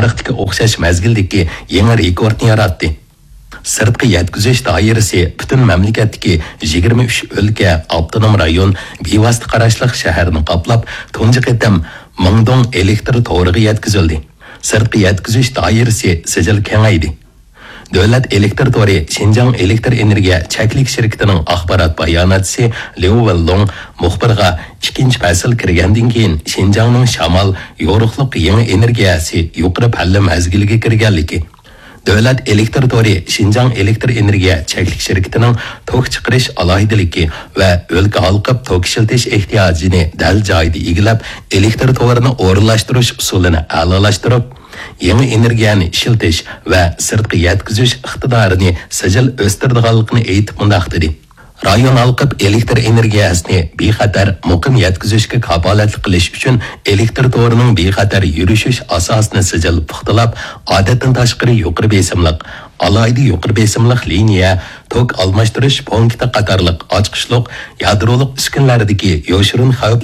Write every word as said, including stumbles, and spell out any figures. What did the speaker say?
تارىختىكى ئوخشاش مەزگىلدىكى يېڭى رېكورتنى ياراتتى. سىرتقا يەتكۈزۈش دائىرىسى پۈتۈن مەملىكەتتىكى يىگىرمە ئۈچ ئۆلكە، ئاپتونوم رايون، بىۋاسىتە قاراشلىق شەھەرنى قاپلاپ، تۇنجى قېتىم مىڭدوڭ ئېلېكتر تورىغا يەتكۈزۈلدى. سىرتقا يەتكۈزۈش دائىرىسى سىجىل كېڭەيدى. دۆلەت ئېلېكتر تورى شىنجاڭ ئېلېكتر ئېنېرگىيە چەكلىك شىركىتىنىڭ ئاخبارات باياناتچىسى ليۇ ۋېنلۇڭ مۇخبىرغا ئىككىنچى پەسىل كىرگەندىن كېيىن شىنجاڭنىڭ شامال، يورۇقلۇق يېڭى ئېنېرگىيەسى يۇقىرى پەللە مەزگىلىگە كىرگەنلىكى، دۆلەت ئېلېكتر تورى شىنجاڭ ئېلېكتر ئېنېرگىيە چەكلىك شىركىتىنىڭ توك چىقىرىش ئالاھىدىلىكى ۋە ئۆلكە ھالقىپ توك ئىشلىتىش ئېھتىياجىنى دەل جايىدا ئىگىلەپ، ئېلېكتر تورىنى ئورۇنلاشتۇرۇش ئۇسۇلىنى ئەلالاشتۇرۇپ، يېڭى ئېنېرگىيەنى ئىشلىتىش ۋە سىرتقا يەتكۈزۈش ئىقتىدارىنى سىجىل ئۆستۈرىدىغانلىقىنى ئېيتىپ مۇنداق دېدى: رايون ھالقىپ ئېلېكتر ئېنېرگىيەسىنى بىخەتەر، مۇقىم يەتكۈزۈشكە كاپالەتلىك قىلىش ئۈچۈن ئېلېكتر تورىنىڭ بىخەتەر يۈرۈشۈش ئاساسىنى سىجىل پۇختىلاپ، ئادەتتىن تاشقىرى يۇقىرى بېسىملىق، ئالاھىدە يۇقىرى بېسىملىق لىنىيە، توك ئالماشتۇرۇش پونكىتى قاتارلىق ئاچقۇچلۇق يادرولۇق ئۈسكۈنىلەردىكى يوشۇرۇن خەۋپ